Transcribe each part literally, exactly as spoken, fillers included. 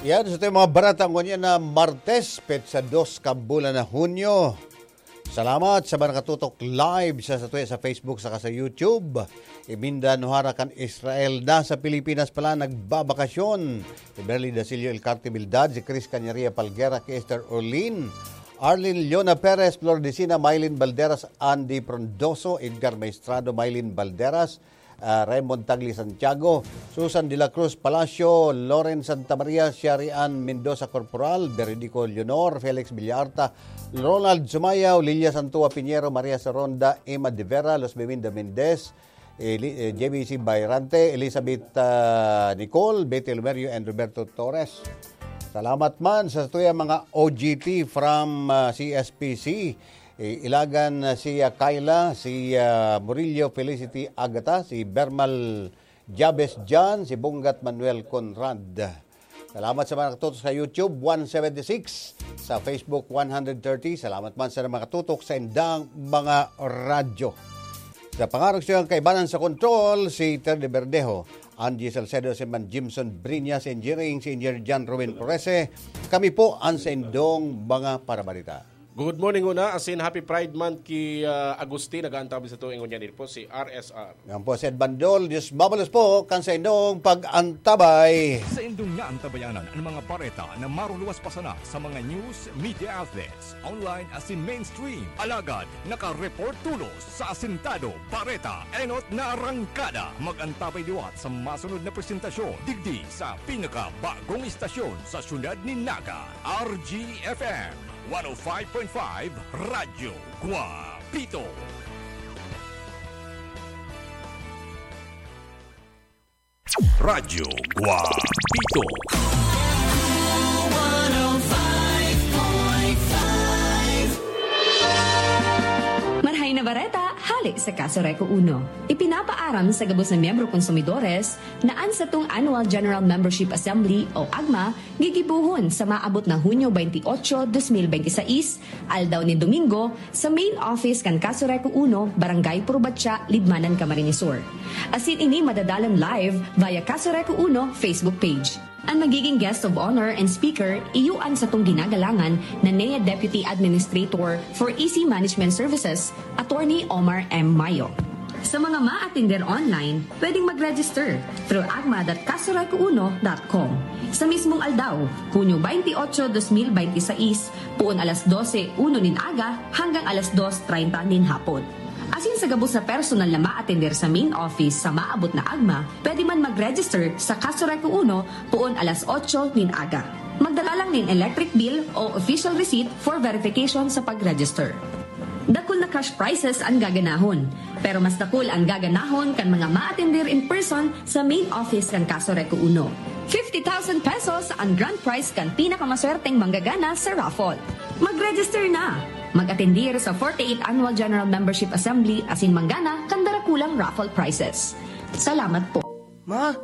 Yan, sa ating mga barata ngunyan na Martes, petsa dos kan bulan na Hunyo. Salamat sa mga nakatutok live sa satuya sa Facebook saka sa YouTube. Iminda Nuhara kan Israel, nasa Pilipinas pala nagbabakasyon. Si Berly Dasilio, Elcarte Bildad, si Chris Cañaria Palguera, Kester Orlin, Arlene Leona Perez, Flor Decina, Mylene Balderas, Andy Frondoso, Edgar Maestrado, Mylene Balderas, ah, Raymond Tagli Santiago, Susan de la Cruz Palacio, Loren Santa Maria, Shari Ann Mendoza Corporal, Veridico Leonor, Felix Villarta, Ronald Sumayaw, Lilia Santua Piñero, Maria Saronda, Emma de Vera, Luz Beminda Mendez, Eli-, eh, J B C Bayrante, Elizabeth, ah, Nicole, Betty Lumerio, and Roberto Torres. Salamat man sa tuyang mga O G T from, ah, C S P C. Eh, Ilagan, ah, si, ah, Kyla, si, ah, Murillo Felicity Agata, si Bermal Jabez John, si Bunggat Manuel Conrad. Salamat sa mga nakatutok sa YouTube, one seventy-six, sa Facebook, one hundred thirty. Salamat man sa mga nakatutok sa indang mga radyo. Sa pangarog sa kaibanan sa kontrol, si Terry Verdejo, Angie Salcedo, si Man Jimson Briñas, Engineering, si Engineer John Ruben Florese. Kami po ang sa indong mga parabalita. Good morning, una. Asin, happy Pride Month ki, ah, Agustin. Nag-aantabay sa tuwing ngunyan din po si R S R. Yan po, Sir Bandol. Diyos mabalos po kan sa inyong pag-antabay. Sa indong naantabayanan ang mga bareta na maruluwas pa sana sa mga news, media outlets, online asin mainstream. Alagad, naka-report tulos sa asintado, bareta, enot na arangkada. Mag-antabay liwat sa masunod na presentasyon, digdi sa pinakabagong istasyon sa siyudad ni Naga, R G F M. One oh five point five Radyo Guapito. Radyo Guapito. Marhay na bareta, hale sa Casureco Uno. Ipinapaaram sa gabos na miyembro konsumidores na an satong Annual General Membership Assembly o agma gigibohon sa maabot na Hunyo twenty-eight, twenty twenty-six, aldaw nin Domingo, sa main office kan Casureco Uno, Barangay Purbatya, Libmanan, Camarines Sur. Asin ini madadalan live via Casureco Uno Facebook page. An magiging guest of honor and speaker, iyo an satong ginagalangan na N E A Deputy Administrator for E C Management Services, Attorney Omar M. Mayo. Sa mga maatender online, pwedeng mag-register through agma dot casureco uno dot com. Sa mismong aldaw, Hunyo twenty-eight, twenty twenty-six, poon alas dose uno nin aga hanggang alas dos treinta nin hapon. Asin sa gabos na personal na maatender sa main office sa maabot na agma, pwede man mag-register sa Casureco Uno poon alas otso nin aga. Magdala lang nin electric bill o official receipt for verification sa pag-register. Dakul na cash prizes an gaganahon, pero mas dakul an gaganahon kan mga maatender in person sa main office kan Casureco Uno. Fifty thousand pesos an grand prize kan pinakamaswerteng manggagana sa raffle. Mag-register na! Mag-atendir sa forty-eighth Annual General Membership Assembly asin manggana kan darakulang raffle prizes. Salamat po. Ma,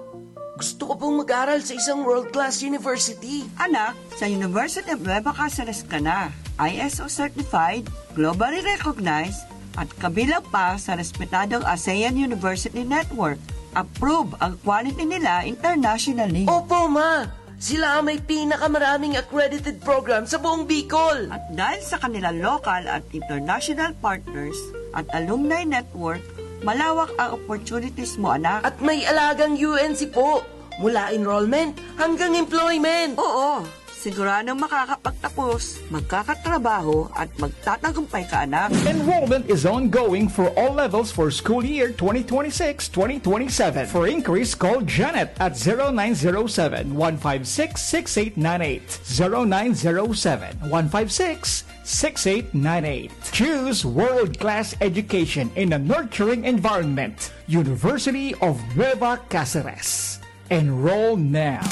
gusto ko pong mag-aral sa isang world-class university. Anak, sa University of Nueva Cáceres ka na. I S O certified, globally recognized, at kabilang pa sa respetadong ASEAN University Network. Approve ang quality nila internationally. Opo, ma! Sila ang may pinakamaraming accredited program sa buong Bicol. At dahil sa kanilang local at international partners at alumni network, malawak ang opportunities mo, anak. At may alagang U N C po, mula enrollment hanggang employment. Oo, siguradong makakapagtapos, magkakatrabaho, at magtatagumpay ka, anak. Enrollment is ongoing for all levels for school year twenty twenty-six, twenty twenty-seven. For inquiries, call Janet at zero nine zero seven, one five six, six eight nine eight. Zero nine zero seven, one five six, six eight nine eight. Choose world-class education in a nurturing environment. University of Nueva Cáceres. Enroll now.